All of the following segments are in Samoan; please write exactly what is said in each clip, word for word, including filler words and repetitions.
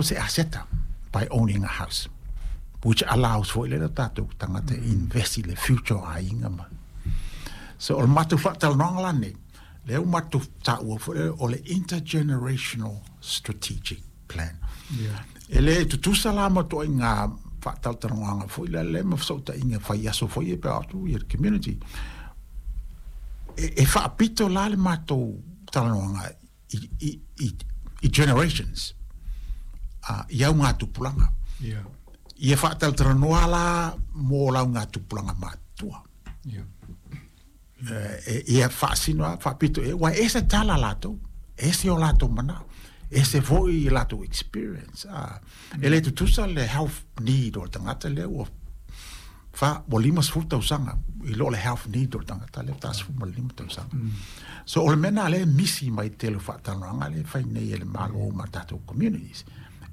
Se aseta by owning a house, which allows foi le tatou tagata e invest i le future o aiga ma. So o le matou faatalanoaga lanei lea ua matou taua foi lea o le intergenerational strategic plan. Yeah. E le tutusa la ma toaiga faatalatalanoaga foi lea le ma fesootaiga faiaso foi e pe atu ia le community. E, e faapito la le matou talanoaga i, i, i, i generations uh, i augatupulaga. Yeah. Ia faatalatalanoa la mo laugatupulaga matutua. Yeah. E, ia faasino a faapito e ua ese tala latou, ese o latou manao, ese foi i latou experience. Ah, e le tutusa le health need o le tagata lea ua fa ua lima sefulu tausaga i lo le health need o le tagata lea tasefulu ma le lima tausaga. So o le mea lena lea e misi mai tele o faatalanoaga lea e fai nei e le Malo ma tatou communities.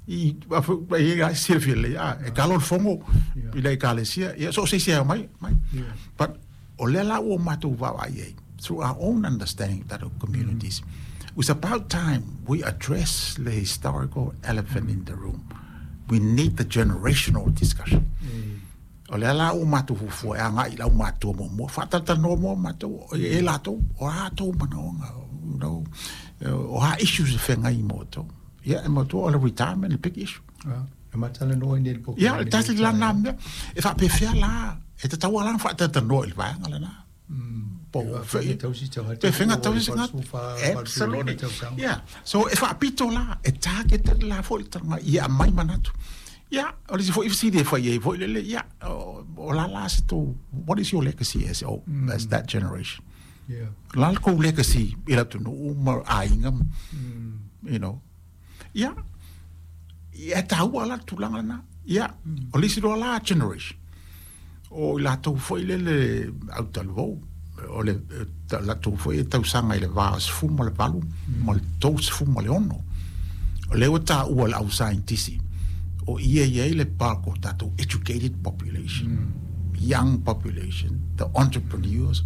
I e silafia lelei a e kalo le fogo i le ekalesia ia so o se isi e mai mai. Yeah. But o lea la ua matou vaavaai ai through our own understanding of tatou communities. It's about time we address the historical elephant in the room. We need the generational discussion. O lea la ua matou fuafua e agai i le aumatua muamua, faatalatalanoa moa matou e latou, o a tou manaoga, you know, o a issues e feagai ma outou. Ia, e manatua o le retirement le big issue. Ah, e matalanoa i nei le Ia, pokalame tasi nei la tala. na mea. E faapefea la, e tatau lava la ona faatalatalanoa i le vaega lena. Po E o faafega fe- tausi tagata pe fega o tausi le tagata. valusufa, valusulima Absolutely. tausaga. Yeah. So e faapito la, e target la foi le talaga ia aumai manatu. Ia, o le isi foi fesili e fai ai foi lele, ia, o, o la la se tou, what is your legacy as, oh, as that generation? Yeah. La le kou legacy i le atunuu ma aiga, you know. Ia, ia e taua la le tulaga lena. Ia, o le isi loa la generation. O i latou foi lele autalavou, o le eh, ta- latou foi e tausaga i le va o sefulu ma le valu ma le tou sefulu ma le ono. O lea ua taua le au scientist o ia i ai le bulk o tatou educated population, young population, the entrepreneurs,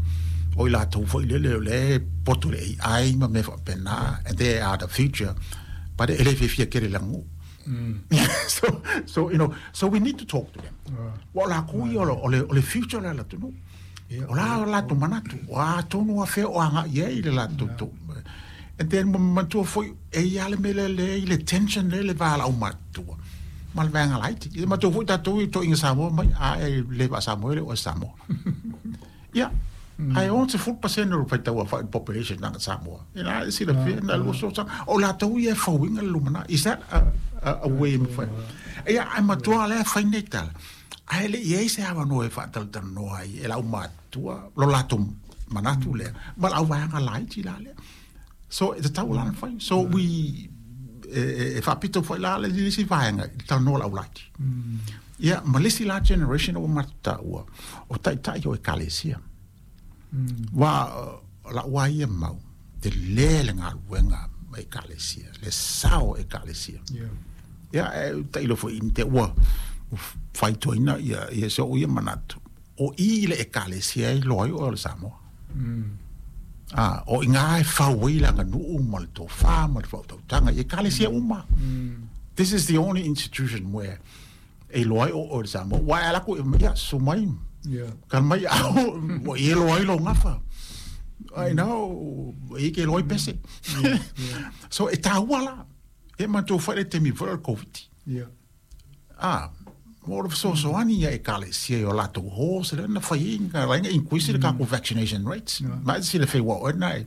o i latou foi lele o le poto le A I ma mea faapena, and they are the future, but e le fiafia tele i le aganuu. so, so, you know, so we need to talk to them. Ah. Ua o lakou ia o le, o le, o le future le le atunuu. Ia. O la o latou manatu, o a tonu a fea o agai ai le latou tou. And then ma manatua foi, e i ai le mea lea le i le tension lea le va o le aumatutua ma le vaega laiti. Ia matou foi tatou i toaiga Samoa mai, a e le faa-Samoa e le o e Samoa. Ia, ae ono sefulu pasene o le faitau aofai o le population tagata Samoa. Ina e silafia na lua so o latou ia e fauina le lumanai. Is that a, a, a way e mafai? Ia, ae matua lea fai nei tala. Ae le i ai se avanoa e faatalatalanoa ai e le aumatutua lo latou manatu lea ma le auvaega laiti la lea. So e tatau la ona fai. So we e, e, e faapito foi la le isi vaega i le talanoa le aulaiti. Ia, ma le isi la generation ua matou taua, o taitai o ekalesia. Ua o la'u lava ia mau, telē le galuega ma ekalesia, le sao o ekalesia. Yeah. Ia, e tailo foi i te ua faitoina ia, ia se o ia manatu. O i le ekalesia e loa ai o le Samoa. Ah, o i ngā e fau ai le aganuu ma le tofā ma le faautautaga i ekalesia uma. This is the only institution where e loa ai o o le Samoa. Ua e alaku, ia, su mai, Yeah. ka mai au, ua i e loa ai lo gafa. I know, e ke loa i pese. So e tāua la, e matou fai le taimi foi o le COVID. Yeah. Ah, mo le fesoasoani ia ekalesia i o latou halls lea na fai ai na laina increase le tatou vaccination rates. Yeah. Ma e silafia ua oe na e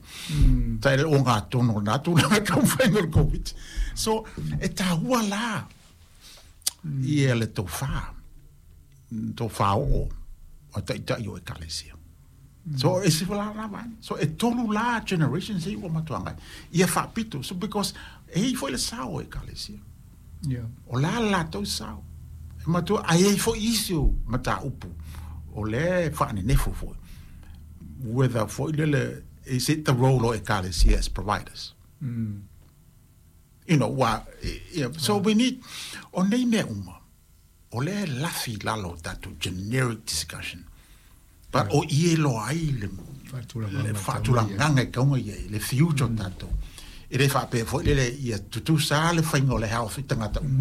tai le ogatonu o lena tulaga taumafaiga o le COVID. So e tāua la ia le tofā, tofā oo o taitai o ekalesia. So e se la la vaega. So e tolu la generations e ua matou agai. Ia faapito. So because e i foi le sao o ekalesia. Yeah. O la latou sao. E matua ai ai foi isi o mataupu. O le faanenefu foi. Whether foi lele, is it the role o ekalesia as providers? Mm. You know, wa, yeah, so we need, o nei mea uma, o le lafi lalo o tatou generic discussion. But o i e loa ai le, Faatulagaga le e faatulagaga e kauga i ai, le future o tatou. E lē faapea foi lele ia tutusa le faiga o le health i tagata uma.